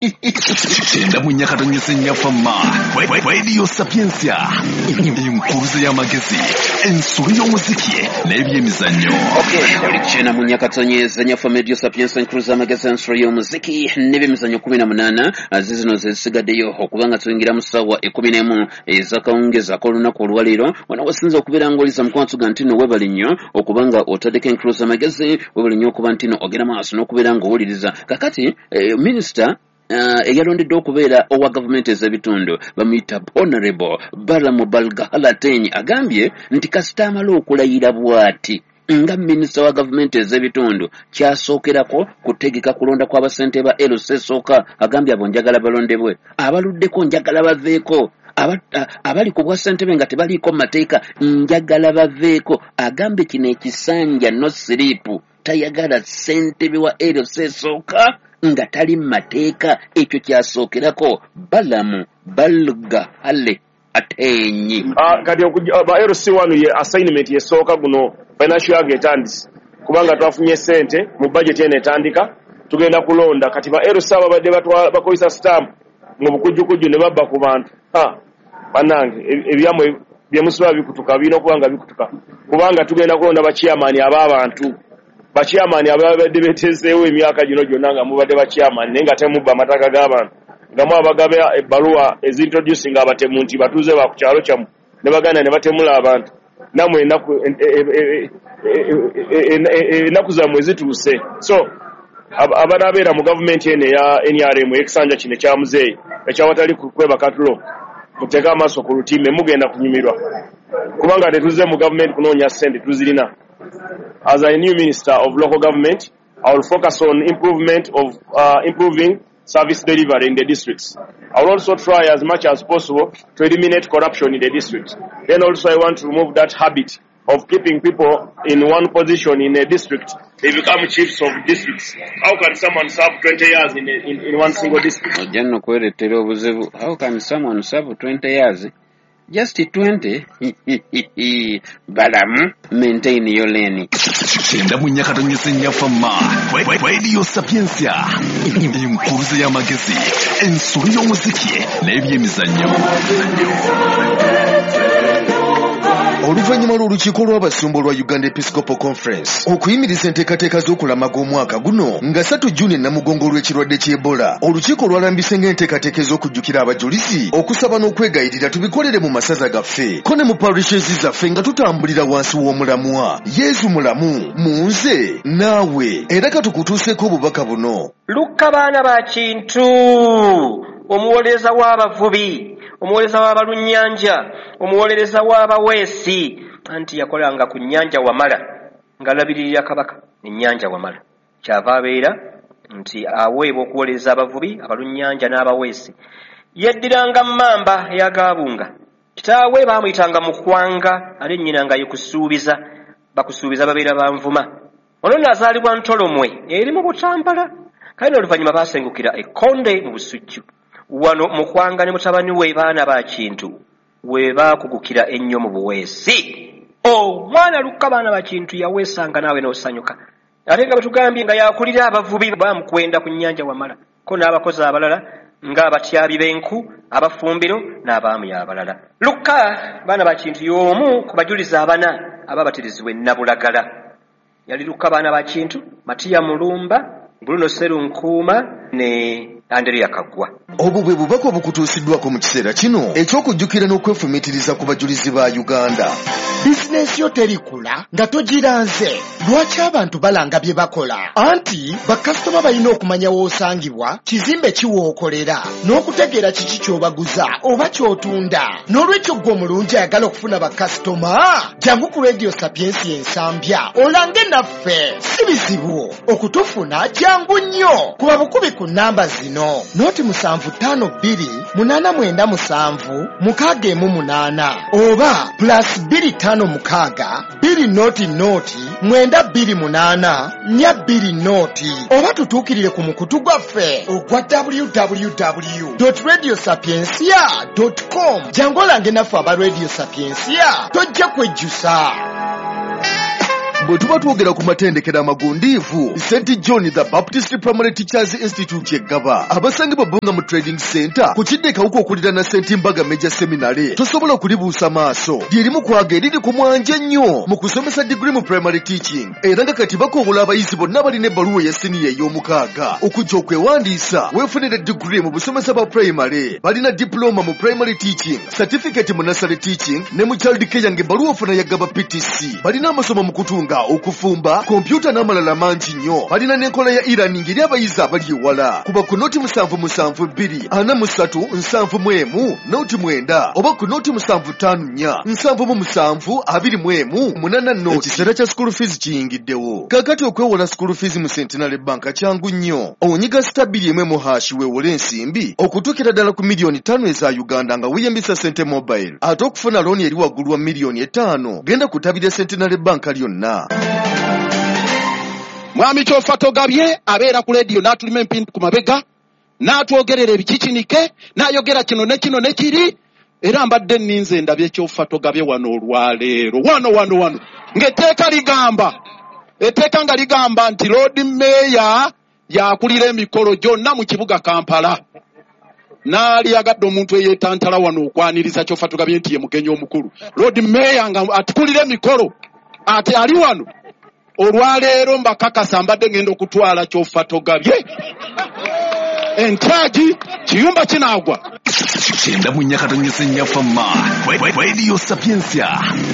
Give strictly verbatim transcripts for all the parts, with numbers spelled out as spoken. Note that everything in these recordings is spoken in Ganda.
Kyenda mu nnya katonyeze nnya fama Radio Sapientia, enkuruze y'amagezi, ensolo y'omuziki n'ebyemizannyo. Kyenda mu nnya katonyeze nnya fama Radio Sapientia, enkuruze y'amagezi, ensolo y'omuziki n'ebyemizannyo. Kumi na munaana zizino zezisigaddeyo okubanga tuyingira mu ssaawa ekkumi n'emu ez'akawungeezi ak'olunaku olwaleero. Wano wasinza okubeera ng'oliza mukwano ga nti nno weebale nnyo okubanga otaddeko enkuruze y'amagezi, weebale nnyo okuba nti nno ogenda maaso n'okubeera ng'owuliriza. Kakati eh, minisita Uh, eyalondeddwa okubeera owa gavumenti ez'ebitundu bamuyita Honorable Balaam Barugahara Ateenyi, agambye nti kasita amala okulayira bw'ati nga minisita wa gavumenti ez'ebitundu, kyasookerako kutegeka kulonda kw'abasente ba L C esooka. Agambye abo njagala balondebwe, abaluddeko njagala baveeko, abali ku bwa ssentebe nga tebaliiko mu mateeka njagala baveeko. Agambye kino ekisanja no sleep, tayagala ssentebe wa L C esooka nga tali mu mateeka. Ekyo kyasookerako Balaam Barugahara Ateenyi. Ah, kati ba L C one ye assignment yesooka, guno financial year etandise, kubanga twafunye sente mu budget eno etandika, tugenda kulonda. Kati ba L C ababadde bakozesa stamp mu bukujjukujju ne babba ku bantu, bannange, ebyammwe byemusobola bikutuka, birina okuba nga bikutuka, kubanga tugenda kulonda bachairman ab'abantu, bachairman ababadde betezeewo emyaka gino gyonna nga mubadde bachairman, naye nga temubba amataka g'abantu, nga mwabagaba ebbaluwa ezintroducing abatemu nti batuuze ba ku kyalo kyammwe, ne baganda ne batemula abantu. Nammwe ennaku zammwe zituuse. So abanaabeera mu gavumenti eno eya N R M, ey'ekisanja kino ekya muzeeyi ekyawatali kwebaka tulo, muteeke amaaso ku lutimbe, mugenda kunyumirwa, kubanga tetuzze mu gavumenti kunoonya ssente, tuzirina. As a new minister of local government, I will focus on improvement of uh, improving service delivery in the districts. I will also try as much as possible to eliminate corruption in the district. Then also I want to remove that habit of keeping people in one position in a district. They become chiefs of districts. How can someone serve twenty years in, a, in, in one single district? Ojja nno kwereetera obuzibu. How can someone serve twenty years? Just twenty? Balaam, maintain your lane. Kyenda mu nnya katonyeze nnya fama Radio Sapientia, enkuruze y'amagezi, ensolo y'omuziki n'ebyemizannyo. Oluvannyuma lw'olukiiko lw'abasumba olwa Uganda Episcopal Conference okuyimiriza enteekateeka z'okulamaga omwaka guno nga ssatu Juni e Namugongo olw'ekirwadde ky'Ebola, olukiiko lwalambise ng'enteekateeka ez'okujjukira abajulizi, okusaba n'okwegayirira tubikolere mu masaza gaffe ko ne mu parishes zaffe, nga tutambulira wansi w'omulamwa "Yezu mulamu mu nze naawe". Era katukutuuseeko obubaka buno. Lukka baana ba Kintu, omuwolereza w'abavubi, omuwolereza w'abalunnyanja, omuwolereza w'abaweesi, anti yakolanga ku nnyanja Wamala ng'alabiririra kabaka ennyanja Wamala. Kyava abeera nti aweebwa okuwolereza abavubi, abalunnyanja n'abaweesi. Yeddiranga Mmamba eyagabunga. Kitaawe baamuyitanga Mukwanga, ate nnyina nga ye Kusuubiza. Bakusuubiza babeera banvuma. Ono nno azaalibwa Ntolomwe eri mu Butambala, kale n'oluvannyuma baasengukira Ekkonde mu Busujju. Wano Mukwanga ne mutabani we baana ba Kintu we baakugukira ennyo mu buweesi. Omwana Lukka baana ba Kintu yaweesanga naawe n'osanyuka, ate nga bwe nga yakulira abavubi bamukwenda ku nnyanja Wamala ko n'abakozi abalala ng'abatyabi b'enku, abafumbiro n'abaami abalala. Lukka baana ba Kintu y'omu ku bajulizi abana ababatirizibwa e Nabulagala. Yali Lukka baana ba Kintu, Matiya Mulumba, Bruno Serunkuuma ne Andereya Kaggwa. Obwo bwe bubaka obukutuusiddwako mu kiseera kino eky'okujjukira n'okwefumiitiriza ku bajulizi ba Uganda. Bizinensi yo terikula nga togiranze. Lwaki abantu balanga bye bakola? Anti bakasitoma balina okumanya w'osangibwa, kizimbe kiwookolera, n'okutegeera kiki ky'obaguza oba ky'otunda. N'olwekyo ggwe omulungi ayagala okufuna bakasitoma, jangu ku Radio Sapientia Ensambya olange naffe. Si bizibu okutufuna, jangu nnyo kuba bukubi ku namba zino: noti musanvu ttaano bbiri munaana mwenda musanvu mukaaga emu munaana oba plus bbiri ttaano mukaaga bbiri noti noti mwenda bbiri munaana nnya bbiri noti, oba tutuukirire ku mukutu gwaffe ogwa W W W radio sapiencia com. Jangu olange naffe aba Radio Sapiencia, tojja kwejjusa. Bwe tuba twogera ku matendekero amagundiivu, Saint John the Baptist Primary Teachers Institute eggaba abasangibwa Bbunga mu Trading Center ku kidde Kawuka okuliraana Saint Mbaga Major Seminary, tosobola kulibuusa maaso. Lyerimu kwaga eriri ku mwanje ennyo mu kusomesa degree mu primary teaching, era nga kati bakowola abayizi bonna balina ebbaluwa eya siniya ey'omukaaga okujja okwewandiisa weefunire degree mu busomesa bwa primary. Balina diploma mu primary teaching, certificate mu nursery teaching ne mu child care ng'ebbaluwa ofuna ya Gaba P T C. Balina amasomo mu kutunga, okufumba, kompyuta n'amalala mangi nnyo. Balina n'enkola ya e-learning eri abayizi abali ewala. Kuba ku noti musanvu musanvu bbiri ana mu ssatu nsanvu mu emu noti mwenda oba ku noti musanvu ttaano nnya nsanvu mu musanvu abiri mu emu munana noti. Ekiseera kya school fees kiyingiddewo. Kaakati okwewola school fees mu Centenary Bank kyangu nnyo. Onyiga sita bbiri emu emu hashi weewole ensimbi okutuukira ddala ku miliyoni ttaano eza Uganda nga weeyambisa Sente Mobile. Ate okufuna looni eri waggulu wa miliyoni etaano genda kutabira Centenary Bank lyonna. Mwami Kyofa Togabye abeera ku leediyo n'atulima empindi ku mabega n'atwogerera ebikikinike n'ayogera kino ne kino ne kiri, era mbadde nninze ndabye Kyofa Togabye wano olwaleero wano wano wano ng'etteeka ligamba etteeka nga ligamba nti Lord Mayor yakulira emikolo gyonna mu kibuga Kampala. Naali yagadde omuntu eyeetantala wano okwaniriza Kyofa Togabye nti ye mugenyi omukulu. Lord Mayor nga atukulira emikolo ate ali wano olwaleero mbakakasa mbadde ngenda okutwala Kyofa Togabye entagi kiyumba kinaagwa. Kyenda mu nnyakatonyesa ennyafama Radio Sapientia,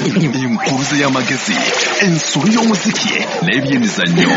enkuruze y'amagezi, ensolo y'omuziki n'ebyemizannyo.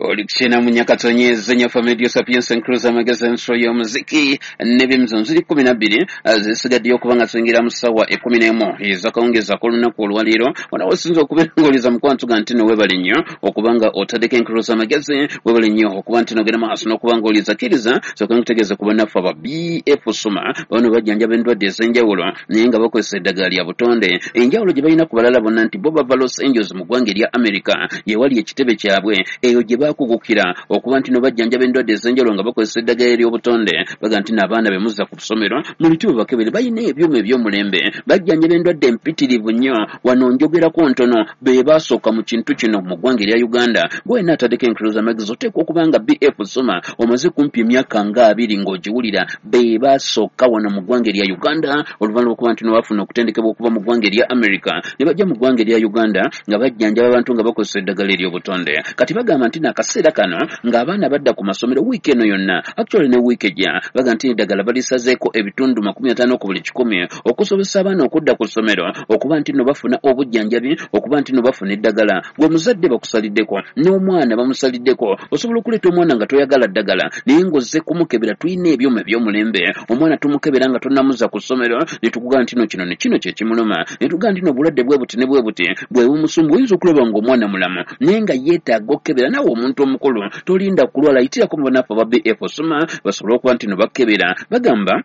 Oli kukyena mu nyakatonyeza enyafa Radio Sapientia enkuruze amagezi, ensolo y'omuziki n'ebyemizannyo. Ziri kkumi na bbiri zisigaddeyo okuba nga tuyingira mu ssaawa ekkumi n'emu ez'akawungeezi ak'olunaku olwaleero. Wano osinza okubeera ng'oliza mukwano ga nti no weebale nnyo okuba nga otaddeko enkuruze amagezi, weebale nnyo okuba nti n'ogenda maaso n'okuba ng'oliza. Kkiriza sooka nkutegeeze ku bannaffe aba B F Suma, bano bajjanjaba endwadde ez'enjawulo naye nga bakozesa eddagala lya butonde. Enjawulo gye balina ku balala bonna nti bo bava Los Angeles mu ggwanga erya America, ye wali ekitebe kyabwe eyo gye baakugukira okuba nti no bajjanjaba endwadde ez'enjawulo nga bakozesa eddagala ery'obutonde. Baga nti n'abaana be muzza ku ssomero mu biti bakebere, balina ebyuma eby'omulembe, bajjanjaba endwadde empitirivu nnyo. Wano njogerako ntono be baasooka mu kintu kino mu ggwanga erya Uganda. Gwe ataddeko enkuruza amagezi oteekwa okuba nga B F Suma omaze kumpi emyaka nga abiri ng'ogiwulira. Be baasooka wano mu ggwanga erya Uganda oluvannyuma lw'okuba nti no bafuna okutendekebwa okuva mu ggwanga erya America ne bajja mu ggwanga erya Uganda nga bajjanjaba abantu nga bakozesa eddagala ery'obutonde. Kati bagamba nti n'akaseera kano ng'abaana badda ku masomero wiiki eno yonna, actually ne wiiki ejja, bagamba nti eddagala balisazeeko ebitundu makumi ataano ku buli kikumi okusobozesa abaana okudda ku ssomero okuba nti no bafuna obujjanjabi, okuba nti no bafuna eddagala. Gwe muzadde bakusaliddeko n'omwana bamusaliddeko, osobola okuleeta omwana nga toyagala ddagala naye ng'ozze kumukebera. Tulina ebyuma eby'omulembe, omwana tumukebera nga tonnamuza ku ssomero ne tukugamba nti no kino ne kino kye kimuluma, ne tugamba nti no obulwadde bwe buti ne bwe buti bwe bumusumba. Oyinza okulaba ng'omwana mulamu naye nga yeetaaga okukebera. Naawe omuntu omukulu tolinda kulwala, yitirako mu bannaffe aba B F Suma basobole okuba nti no bakebera. Bagamba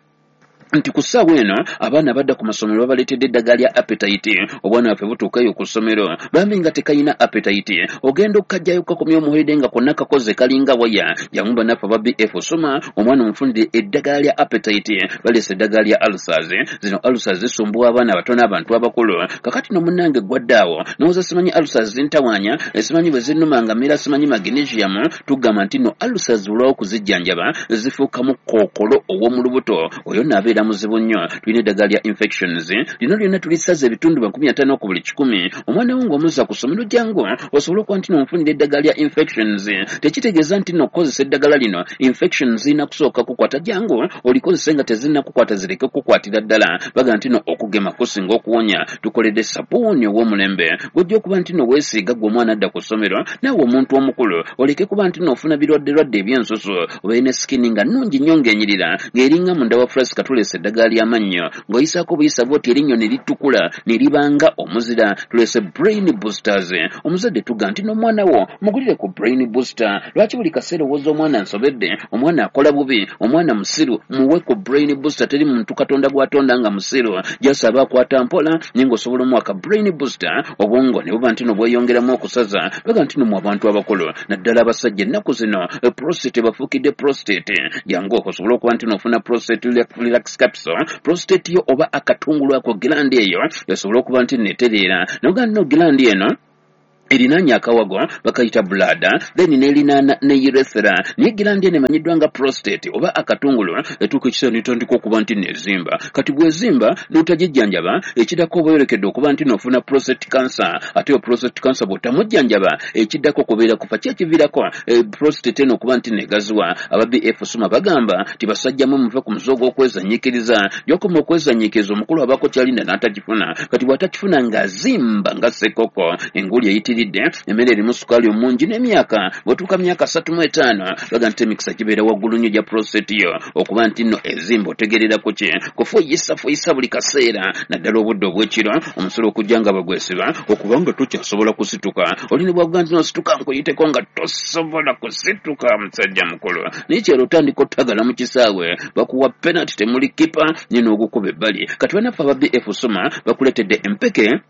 nti ku ssaawa eno abaana badda ku masomero babaleetedde eddagala lya appetite. Obwana bwaffe butuukayo ku ssomero bambi nga tekayina appetite, ogenda okukajjayo kakomya omuhulidde nga konna kakoze kalinga waya. Jangu bannaffe aba B F Suma omwana omufunire eddagala lya appetite. Baleese eddagala lya ulcers. Zino ulcers zisumbuwa abaana abato n'abantu abakulu. Kakati no munnange gwadde awo n'owooza simanyi ulcers zintawaanya, simanyi bwe zinnuma nga mmera, simanyi magnesium. Tugamba nti no ulcers olwawo okuzijjanjaba zifuukamu kookolo ow'omu lubuto, oyo naabeera muzibu nnyo. Tulina eddagala lya infections, lino lyonna tulisaza ebitundu makumi ataano ku buli kikumi. Omwana wo ng'omuzza ku ssomero jangu osobole okuba nti n'omufunira eddagala lya infections. Tekitegeeza nti n'okukozesa eddagala lino infections zirina kusooka kukwata, jangu olikozese nga tezinnakukwata zireke kukwatira ddala. Baga nti no okugema kusinga okuwonya. Tukoledde sabuuni ow'omulembe gw'ojja okuba nti no weesiiga gwe omwana adda ku ssomero, naawe omuntu omukulu oleke kuba nti n'ofuna birwadderwadde eby'ensusu, obeere ne sikini nga nnungi nnyo ng'enyirira ng'eringa munda wa flasika. Tuleese eddagala ly'amannyo ng'oyisaako buyisa bw'oti erinnyo ne litukula ne libanga omuzira. Tuleese brain boosters. Omuzadde tuga nti n'omwana wo mugulire ku brain booster. Lwaki buli kaseera owooza omwana nsobedde, omwana akola bubi, omwana musiru? Muwe ku brain booster. Teri muntu Katonda gw'atonda nga musiru, gy'asaba akwata mpola naye ng'osobola omuwa brain booster, obwongo ne buba nti no bweyongeramu okusaza. Baga nti no mu abantu abakulu naddala abasajja ennaku zino prostate bafuukidde prostate. Jangu osobole okuba nti n'ofuna prostate relax Capsule, prostate yo oba akatungulu ako, gland eyo esobole okuba nti netereera. Noga nno gland eno erinaanye akawago bakayita bladder, then n'erinaana ne urethra, naye gland eno emanyiddwa nga prostate oba akatungulu etuuka ekiseera netandika okuba nti nezimba. Kati bw'ezimba n'otagijjanjaba, ekiddako oba oyolekedde okuba nti n'ofuna prostate cancer. Ate yo prostate cancer bw'otamujjanjaba, ekiddako kubeera kufa. Ki ekiviirako eh, prostate eno okuba nti negaziwa? Aba B F Suma bagamba ti basajjamu muve ku muze ogw'okwezanyiikiriza. Gy'okoma okwezanyiikiriza, omukulu abaako kyalinda n'atakifuna. Kati bw'atakifuna ng'azimba nga ssekoko, enguli eyitiridde, emmere erimu sukaali omungi n'emyaka. Bw'otuuka myaka asatu mu etaano, baga nti emikisa gibeera waggulu nnyo gya prostate yo okuba nti nno ezimba. Otegerera ku ki? Kufuuyisa fuuyisa buli kaseera, naddala obudde obw'ekiro, omusolo okujja nga bagwesiba okubanga tokyasobola kusituka. Oli ne bwavuga nti nosituka nkuyiteko, nga tosobola kusituka, musajja mukulu. Naye kyero otandika otagala mu kisaawe, bakuwa penalty, temuli kipa nye n'ogukuba ebbali. Kati banaffe aba B F Suma bakuleetedde empeke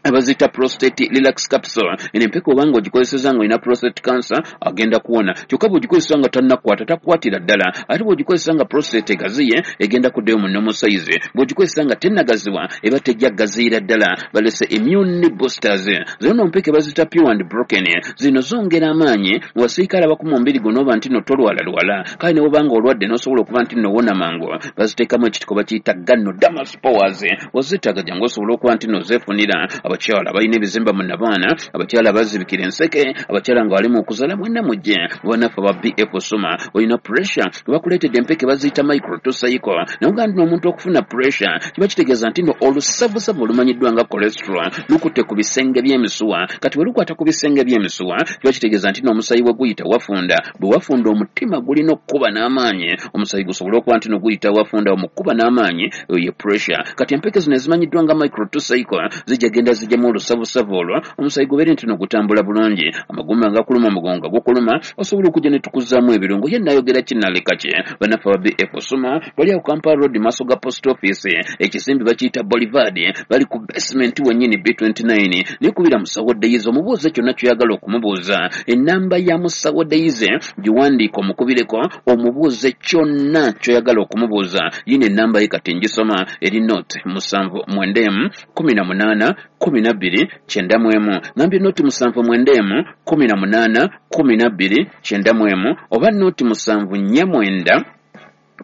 abazita Prostate Relax Capsule. Eno empeke obanga ogikozeseza nga olina prostate cancer, agenda kuwona. Kyokka bw'ogikozesa nga tannakwata, takwatira ddala. Ate bw'ogikozesa nga prostate egaziye, egenda kuddayo mu normal size. Bw'ogikozesa nga tennagaziwa, eba tejja gaziyira ddala. Balese immune boosters. Zino no mpeke bazita Pure and Broken. Zino zongera amaanyi mu basirikale abakuma omubiri guno, oba nti no tolwalalwala, kale ne bw'oba nga olwadde n'osobola okuba nti nowona mangu. Baziteekamu ekitiko bakiyita Ganoderma spores. Ozitaaga, jangu osobola okuba nti nozeefunira. Abakyala balina ebizimba mu nabaana, abakyala bazibikira enseke, abakyala nga bali mu kuzala, mwenna mujje bannaffe aba B F Suma. Olina pressure, bakuleetedde empeke baziyita Micro Cycle. Naye ogaa nti omuntu okufuna pressure kiba kitegeeza nti no olusavusavu olumanyiddwa nga cholesterol lukutte ku bisenge by'emisuwa. Kati bwe lukwata ku bisenge by'emisuwa, kiba kitegeeza nti n'omusayi bwe guyita wafunda. Bwe wafunda, omutima gulina okukuba n'amaanyi, omusayi gusobole okuba nti no guyita wafunda. Omukuba n'amaanyi, eyo ye pressure. Kati empeke zino ezimanyiddwa nga Micro Cycle zijja genda zijjamu olusavusavu olwo, omusayi gubeere nti no gutambula bulungi. Amagumba nga kuluma, omugongo nga gukuluma, osobola okujja ne tukuzaamu ebirungo. Ye nayogera kinaleka ki? Bannaffe aba B F Suma bali awo Kampala Road, maaso ga post office, ekizimbe bakiyita Boulevard, bali ku basement wennyini B twenty-nine. Naye kubira Musawo Deyize omubuuze kyonna kyoyagala okumubuuza. Enamba ya Musawo Deyize giwandiika, omukubireko omubuuze kyonna kyoyagala okumubuuza. Yino enamba ye kati ngisoma, eri nought musanvu mwenda emu kumi na munaana kumi na bbiri kyenda mu emu. Ngambye nought musanvu mwenda emu kumi na munaana kumi na bbiri kyenda mu emu, oba nought musanvu nnya mwenda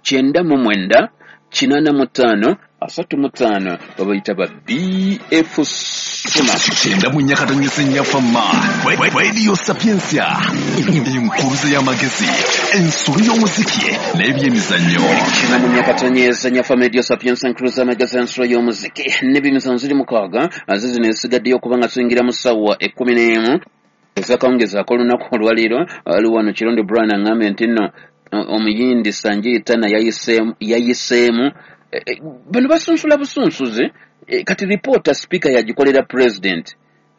kyenda mu mwenda kinaana mu ttaano asatu mu ttaano. Babayita ba B F Suma. Kyenda mu nnya katonyesa ennyafama Radio Sapiensia, enkuruze y'amagezi, ensolo y'omuziki n'ebyemizannyo. Kyenda mu nnya katonyeza nyafa Radio Sapiensia, enkuruze y'amagezi, ensolo y'omuziki n'ebyemizannyo. Ziri mukaaga zizino ezisigaddeyo okuba nga tuyingira mu ssaawa ekkumi n'emu ezakawungezaako olunaku olwaleero. Ali wano Kirondo Brian aŋŋambye nti nno omuyindi Sanjay Tanna yayiseemu. Bano basunsula busunsuzi. Kati ripoota sipiika yagikolera president.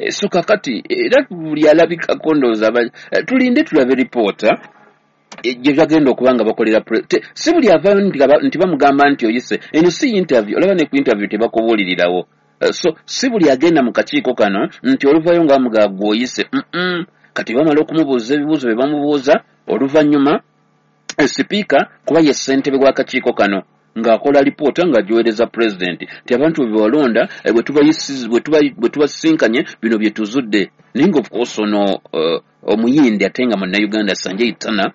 So kakati era buli alabikako ndowooza tulinde tulabe ripoota gye bagenda okuba nga bakolera. Si buli avaayo nti bamugamba nti oyise. Eno si interview, olaba ne ku interview tebakubuulirirawo. So si buli agenda mu kakiiko kano nti oluvayo nga bamugaa gwe oyise. Kati bamala okumubuuza ebibuuzo bye bamubuuza, oluvannyuma sipiika, kuba ye ssentebe w'akakiiko kano, ng'akola lipoota ng'agiweereza pulezidenti nti abantu bwe bewalonda bwe tubasisinkanye, bino bye tuzudde. Naye nga of course ono omuyindi ate nga munnayuganda Sanjay Tanna,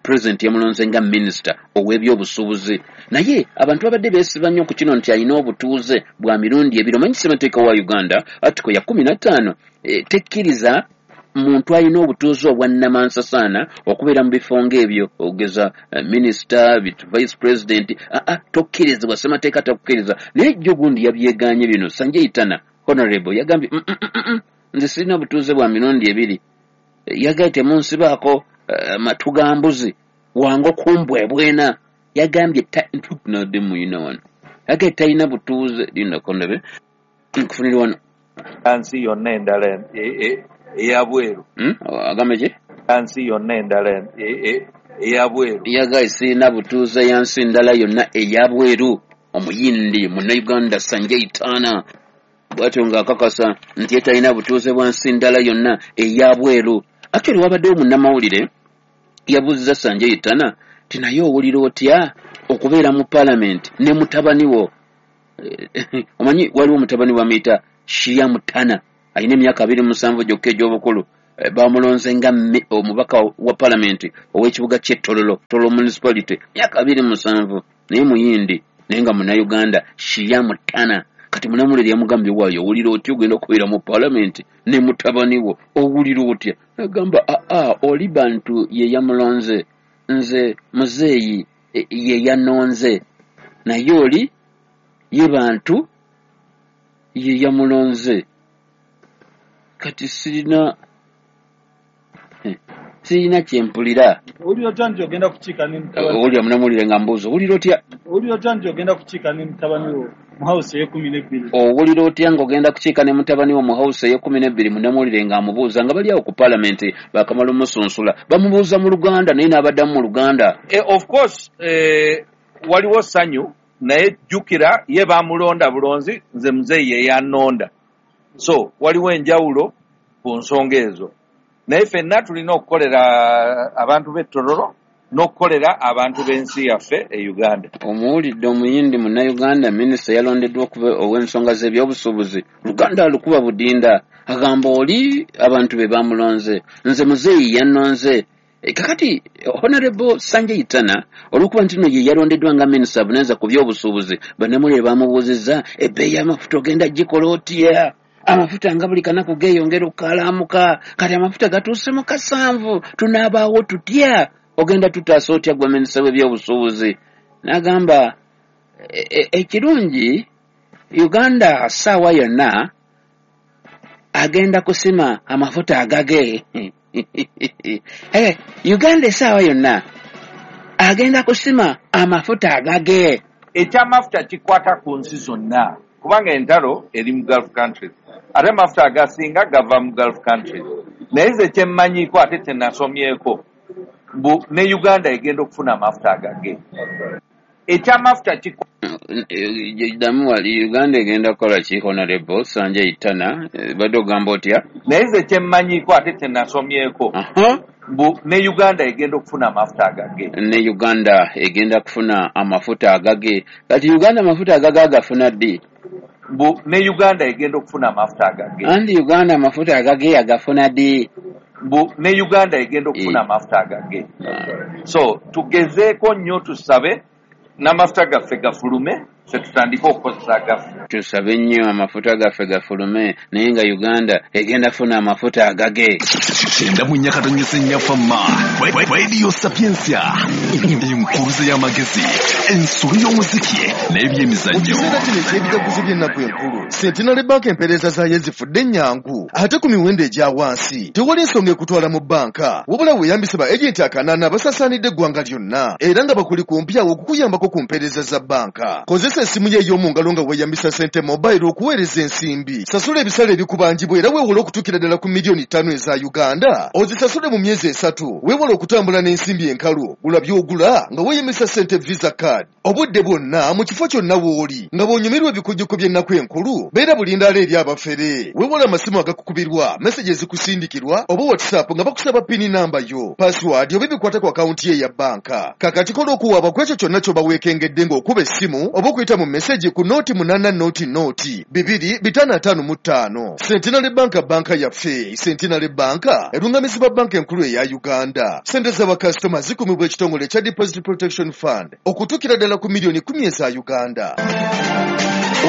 pulezidenti yamulonze nga minisita ow'ebyobusuubuzi, naye abantu babadde beesiba nnyo ku kino nti alina obutuuze bwa mirundi ebiri. Omanyi ssemateeka wa Uganda article ya kumi na ttaano tekkiriza muntu alina obutuuze obwa nnamansasaana okubeera mu bifo ng'ebyo, ogeza minisita, vice president. Aa, tokkirizibwa, ssemateeka takukkiriza. Naye jjo gundi yabyeganye bino. Sanjay Tanna honorable yagambye, mm, mm, mm, nze sirina butuuze bwa mirundi ebiri." Yagambye, "Temunsibaako matu ga mbuzi wange okumbwebwena." Yagambye ntunadde muyina wano, yagambye talina butuuze. Lindako ndabe nkufunire wano. Nsi yonna endala eyabweru. Agambe ki? Nsi yonna endala eyabweru. Yagambye, "Sirina butuuze ya nsi ndala yonna eyabweru." Omuyindi munnayuganda Sanjay Tanna bwatyo ng'akakasa nti ye talina butuuze bwa nsi ndala yonna eyabweru. Actually wabaddewo munnamawulire yabuuziza Sanjay Tanna ti, "Naye owulira otya Okubeera mu paalamenti ne mutabani wo. Omanyi waliwo mutabani bamuyita Shiya Mutana, alina emyaka abiri mu musanvu gyokka egy'obukulu. Bamulonze nga omubaka wa paalamenti ow'ekibuga ky'e Tororo, Tororo Municipality, myaka abiri mu musanvu, naye muyindi, naye nga munnayuganda. Shiya Mutana kati munamulere yamugambye, waayo owulira otya ogenda okubeera mu paalamenti ne mutabani wo, owulira otya? Agamba aa, oli bantu ye yamulonze, nze muzeeyi ye yanonze, naye oli ye bantu ye yamulonze, kati sirina sirina kyempulira. Owulira otya nti ogenda kukiika ne mutabani? Owulira munamulire nga mbuuza, owulira otya? Owulira otya nti ogenda kukiika ne mutabani wo mu house ey'ekkumi n'ebbiri? Owulira otya ng'ogenda kukiika ne mutabani wo mu house ey'ekkumi n'ebbiri? Munamulire ng'amubuuza nga bali awo ku paalamenti, bakamala omusunsula, bamubuuza mu Luganda naye n'abaddamu mu Luganda. Eh, of course eh, waliwo ssanyu, naye jjukira ye bamulonda bulonzi, nze muzeeyi ye yannonda, so waliwo enjawulo ku nsonga ezo, naye ffenna tulina okukolera abantu b'e Tororo n'okukolera abantu b'ensi yaffe e Uganda. Omuwulidde omuyindi munnayuganda, minisita yalondeddwa okuba ow'ensonga z'ebyobusuubuzi, Luganda alukuba budinda, agamba oli abantu be bamulonze, nze muzeeyi yannonze. Kakati Honorable Sanjay Tana, olw'okuba nti nno ye yalondeddwa nga minisita avunaanyizibwa ku byobusuubuzi, bannamawulire bamubuuzizza ebbeeyi y'amafuta ogenda gikola otya? Amafuta nga buli kanaku geeyongera okukalaamuka, kati amafuta gatuuse mu kasanvu, tunaabaawo tutya? Ogenda tutaasa otya gwe minisita w'ebyobusuubuzi? N'agamba ekirungi Uganda ssaawa yonna agenda kusima amafuta agage. Uganda essaawa yonna agenda kusima amafuta agage. Ekyamafuta kikwata ku nsi zonna, kubanga entalo eri mu Gulf countries, ate amafuta agasinga gava mu Gulf countries. Naye nze kyemmanyiiko ate kyenasomyeko, mbu ne Uganda egenda okufuna amafuta agage. Ekyamafuta kikwata ddamu wali Uganda egenda kukola ki? Honorable Sanjay Tana, badde ogamba otya? Naye nze kyemmanyiiko ate kyenasomyeko, mbu ne Uganda egenda okufuna amafuta agage. Ne Uganda egenda kufuna amafuta agage. Kati Uganda amafuta agage agafuna ddi? Mbu ne Uganda egenda okufuna amafuta agage. Andi Uganda amafuta agage agafuna ddi? Mbu ne Uganda egenda okufuna amafuta agage. So tugezeeko nnyo, tusabe n'amafuta gaffe gafulume, ffe tutandike okukozesa agaffe. Tusabe nnyo amafuta gaffe gafulume, naye nga Uganda egenda funa amafuta agage. Kyenda mu nnya katonyese nnyafamma Radio Sapientia, enkuruze y'amagezi, ensolo y'omuziki n'ebyemizannyo. Mu kiseera kino eky'ebijaguzo by'ennaku enkulu, Centenary Bank empeereza zaayo ezifudde ennyangu ate ku miwendo egya wansi. Tewali ensonga ekutwala mu bbanka, wabula weeyambise ba agenti akanaana abasaasaanidde eggwanga lyonna, era nga bakuli kumpi awo okukuyambako ku mpeereza za bbanka. Kozesa essimu yo ey'omu ngalo nga weeyambisa Sente Mobile okuweereza ensimbi. Sasula ebisale ebikubanjibwa era weewole okutuukira ddala ku miliyoni ttaano eza Uganda, ozisasule mu myezi esatu. Weewale okutambula n'ensimbi enkalu, gula by'ogula nga weeyambisa Sente Visa Card. Obudde bwonna mu kifo kyonna w'oli nga bw'onyumirwa ebikujjuko by'ennaku enkulu, beera bulindaala eri abafere. Weewale amasimu agakukubirwa, meseji ezikusindikirwa oba WhatsApp nga bakusaba pini namba yo, password oba ebikwata ku akawunti ye eya bbanka. Kakati kola okuwaaba ku ekyo kyonna ky'oba weekengedde ng'okuba essimu oba okuyita mu meseji ku nooti munaana nooti nooti bibiri bitaano ataano mu ttaano. Centenary Bank, banka yaffe. Centenary Bank erungamizibwa banka enkulu eya Uganda. Sente z'abakasitoma zikumibwa ekitongole ekya Deposit Protection Fund okutuukira ddala ku miliyoni kumi eza Uganda.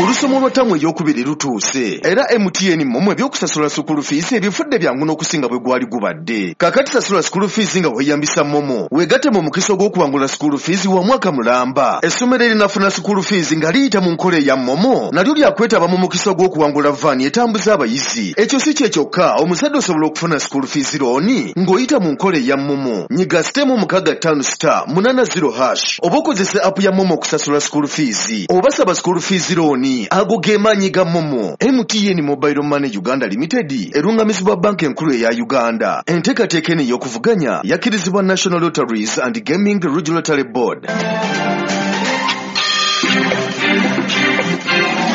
Olusomo lwa ttamu ey'okubiri lutuuse, era M T N MoMo ebyokusasula sukulu fees ebifudde byangu n'okusinga bwe gwali gubadde. Kakati sasula sukulu fees nga weeyambisa MoMo, weegatte mu mukisa ogw'okuwangula sukulu fees wa mwaka mulamba. Essomero erinafuna sukulu fees nga liyita mu nkola eya MoMo nalyo lyakwetaba mu mukisa ogw'okuwangula vaani etambuza abayizi. Ekyo si kye kyokka, omuzadde osobola okufuna sukulu fees looni ng'oyita mu nkola eya MoMo. Nyiga sitemu mukaaga ttaano star munaana zero hash oba okozesa app ya MoMo okusasula sukulu fees oba saba sukulu fees looni. Ago ge maanyi ga MoMo. M T N Mobile Money Uganda Limited erungamizibwa banka enkulu eya Uganda. Enteekateeka eno ey'okuvuganya yakkirizibwa National Lotteries and Gaming Regulatory Board.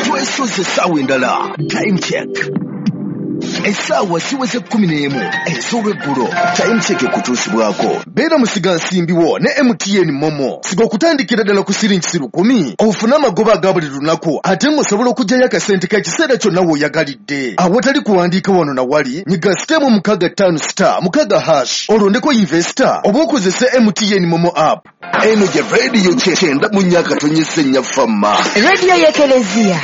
Twesoze essaawa endala. Time check. Essaawa ziweze kkumi n'emu ez'olweggulo. Time Check ekutuusibwako. Beera musigansimbiwo ne M T N Momo. Siga okutandikira ddala ku siringi lukumi ofune amagoba aga buli lunaku ate ng'osobola okuggyayo akasente k'ekiseera kyonna w'oyagalidde. Awatali kuwandiika wano na wali, nyiga sitemu mukaaga ttaano star mukaaga hash olondeko investor oba okozese M T N Momo app. Eno gye radio kyenda mu nnya akatonyese nnya fama. Radio y'Ekelezia.